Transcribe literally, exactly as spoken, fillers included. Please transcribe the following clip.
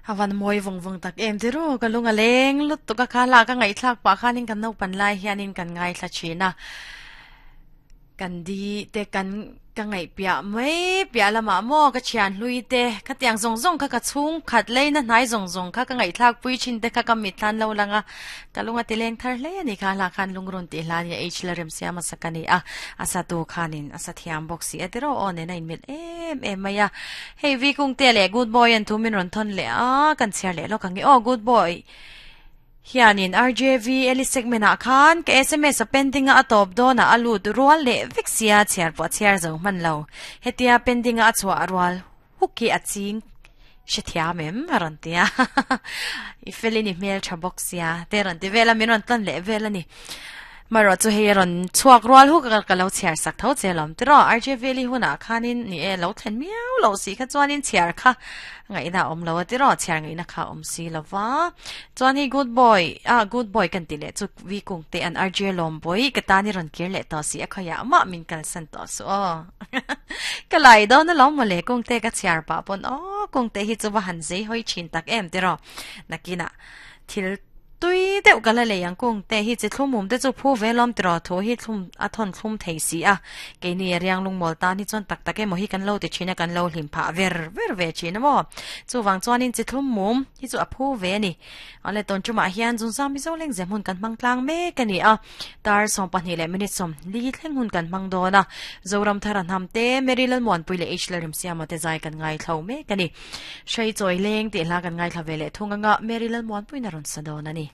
Hawan moi vong vong tak em tiru ka lunga leng lut tu ka khala ka ngai thlak pa khanin kan no pan lai hianin kan ngai thla china kan di te kan ka ngai pia mai pia lama mo ka chian hlui te ka tiang zong zong kha ka chung khat leina hnai zong zong kha ka ngai thlak pui chin te kha ka mit than lo langa ka lunga ti leng thar hle ani kha la khan lungrun ti hla ni h la rem siama sakani a asa tu khanin asa thiam box si atero on ne in mit em em maya hei vi kung te le good boy an thu min ron thon le a kan chiar le lo ka nge o good boy hianin R J V eli segment a khan ka S M S a pending a top do na alu rual le vexia chiar po chiar zo man lo hetia pending a chwa rual huki a ching shethia mem aron tia i felini mail tha box ya te ron ti vela min ron tan le vela ni maro chu hei ron chuak rual hu ka ka lo chiar sak tho chelom tro R J V li huna khanin ni e lo thlen miau lo si kha chuanin chiar kha ngai na om lo ti ro chiar ngai na kha om si lova chuan hi good boy a good boy kan ti le chu vi kung te an R J lom boy ka ta ni ron kir le to si a khaya ma min kal san to so ka lai do na lom le kung te ka chiar pa pon o kung te hi chu wa han zei hoi chin tak em ti ro nakina thil tui deuh ka la le yang kung te hi chi thlum mum te chu phu ve lom tro tho hi thlum a thon thlum thei si a ke ni riang lung mol ta ni chon tak tak e mo hi kan lo ti china kan lo hlim pha ver ver ve china mo chu wang chuan in chi thlum mum hi chu a phu ve ni ale ton chuma hian jun sam mi zo leng zem hun kan mang tlang me ka ni a tar som pahnih le minute som li thleng hun kan mang do na zoram tharan ham te merilal mon pui le h larim siama te zai kan ngai thlo me ka ni shrei choi leng ti la kan ngai thla ve le thunga nga merilal mon pui na ron sa do na ni.